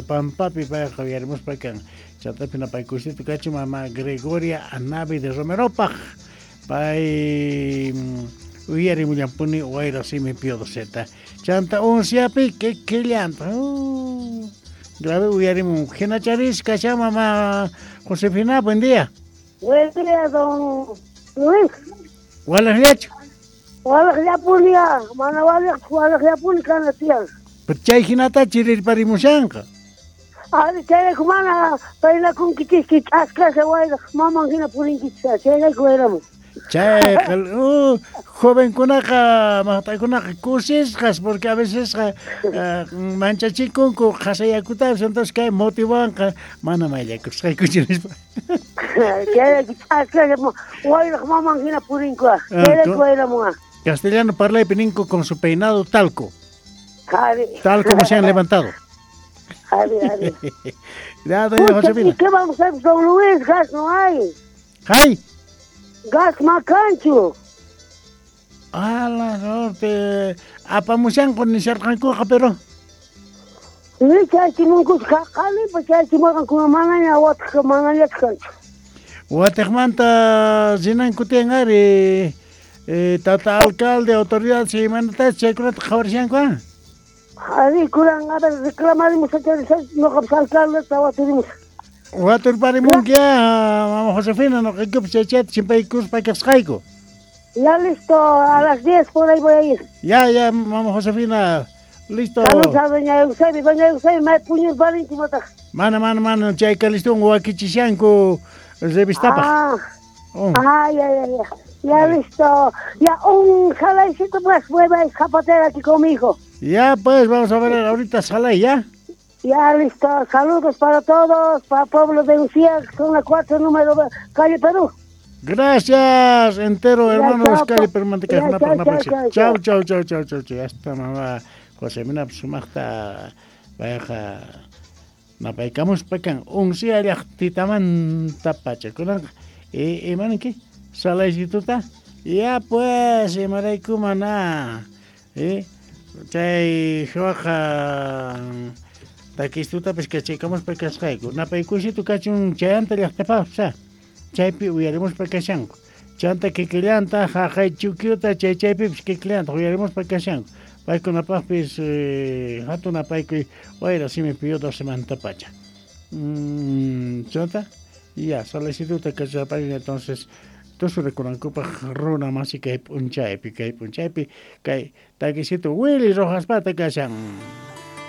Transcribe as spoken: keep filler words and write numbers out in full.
Pampapi payqa uyarimuspa kan. Chantapi napaykusito kachun mama Gregoria Anavi de Romeropaj. Pay uyarimullampuni Wayra Simi Pío Doceta. Chanta unciapi kikillanta. Uh, grave uyarimun. Jinacharis kashan mama Josefina, buen día. Buen día, don Luis. Walajllachu. Walajllapuni, mana walaj, walajllapuni kana tiyan. Pero chay hinata chirirparimushanqa. Ari chayrayku mana paynakunkichikki ch'askasha wayraq maman hina purinkichik, chayrayku wayramun. Chayqa uh, jovenkunaqa maqt'akunaqa kusisqas porque a vecesqa uh, manchachikunku qhasayakutapis, entonces kay motivanqa mana mayllakusqaykuchu nispa. Chayrayku ch'askasha wayraq maman hina purinku, chayrayku wayramun. Castellano parlaypi ninku con su peinado talco. Ari. Tal como se han levantado. Ari, ari. Ya, doña Josefina. ¿Y qué vamos a hacer, don Luis? Gas no hay. ¿Hay? Gas macancho. A la norte. Apamushanku nisharqankuqa, pero. Ni chaychimunkus qalipa chaychimarqankuna manaña wataq manañachu kanchu. Wataqmanta rinanku tiyan ari. Eh, tata alcalde, autoridad, imanatachus chaykunata qhawarishanku, ah? Ari, kunan, a ver, reclamarimus, noqapas alcaldeta waturimus. Waturparimunki, mama Josefina, noqaykupas chay chayta chimpaykuspa kasqayku. Ya listo, a las diez por ahí voy a ir. Ya, ya, mama Josefina, listo. Saludos a doña Eusebio, doña Eusebio, may puñurparinki mataq. Mana, mana, mana, chayka listun wakichishanku revistapaq. Ah, oh. Ah, ya, ya, ya. Ya listo, ya un jalaicito pues, voy a ir zapatera aquí conmigo. Ya pues, vamos a ver ahorita Salay, ¿ya? Ya listo, saludos para todos, para pueblo de Uncía, zona cuatro, número, calle Perú. Gracias, entero hermanos, calle Perú, Manteca, chao, chao, chao, chao, chao, chao, ya está mamá Josefina sumaqta payqa napaykamuspa kan Uncía llaqtitamanta pacha kunanqa imanki Salaycituta, ya pues, imarayku mana, eh, chay huaqa takistutapis kachaykamuspa kasqayku napaykusitu kachun chayanta llaqtapaqpas, chaypi uyarimuspa kashanku chanta kikillanta haqay chukyuta chay chaypipis kikillanta uyarimuspa kashanku paykunapaqpis eh, hatun napaykuy Wayra Simi Pío docemantapacha pacha. Mm, chanta ya salaycituta kachaparin entonces tusurikunankupaq runa masi kay p'unchaypi kay p'unchaypi kay takisito Willy Rojaspata kashan.